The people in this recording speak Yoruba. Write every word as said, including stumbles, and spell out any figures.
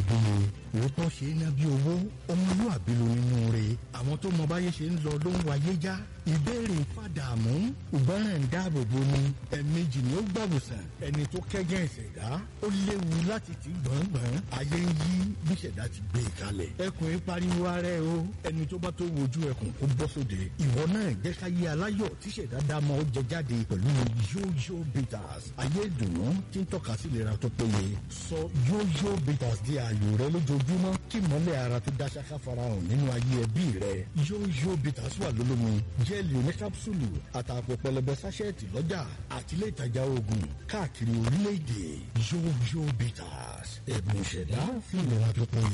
iyebíye. Òótọ́ ṣe é ná bí owó, ọmọlúàbí ló nínú rẹ̀. Àwọn tó mọ báyé ṣe ń lọ ló ń wáyé já. Ìbéèrè fàdàmú, ìgbọràn ń dáàbò bo ni. Ẹ̀ẹ̀mejì ni ó gbàwòsàn. Ẹni tó kẹ́gàn ìṣẹ̀dá, ó léwu láti ti gbọ̀ngbọ̀n. Ayé ń yí bí ìṣẹ̀dá ti gbé e kalẹ̀. Ẹkùn yìí pariwo ara ẹ o. Ẹni tó bá tó wojú ẹkùn kó bọ́ sóde. Ìwọ náà jẹ́ ká yé aláyọ̀ tí ìṣẹ̀dá dámọ̀ ó jẹ jáde pẹ̀lú Yóyó Bitters. Ayé ìdùnnú tí ń tọ́ka sí ìlera tó péye. Sọ Yóyó Bitters di ààyò rẹ lójoojúmọ́ kí mọ́lẹ̀ ara tó dá ṣáká farahàn nínú ayé ẹbí rẹ. Yóyó Bitters wà lólómi, jẹ́ẹ̀lì oníkápsùlù àtàpọ̀ pẹlẹbẹ sáṣẹ́ẹ̀tì lọ́jà àti ilé ìtajà oògùn káàkiri orílẹ̀-èdè. Yóyó Bitters, ẹ̀bùn ìṣẹ̀dá fún ìlera tó péye.